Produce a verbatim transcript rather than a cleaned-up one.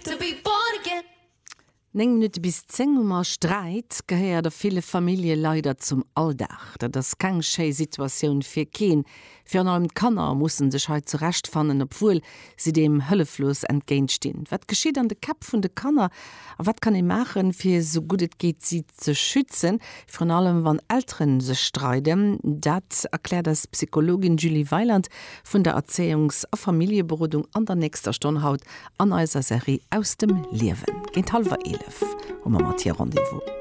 To be born again. Néng Minutte bis zéng hu mer. Sträit gehéiert a ville Famillje leider zum Alldag. Dat ass keng schéi Situatioun fir keen. Virun allem d'Kanner mussen sech hei zurechtfannen, obwuel si deem hëlleflos entgéintstinn. Wat geschitt an de Käpp vun de Kanner a wat kann ee maachen, fir sou gutt et geet si ze schützen, virun allem wann Elteren sech streiden? Dat erkläert eis d'Psychologin Julie Weiland vun der Erzéiungs a Familljeberodung an der nächster Stonn haut an eiser Serie Aus dem Liewen. Géint hallwer eelef hu mer mat hir Rendez-vous.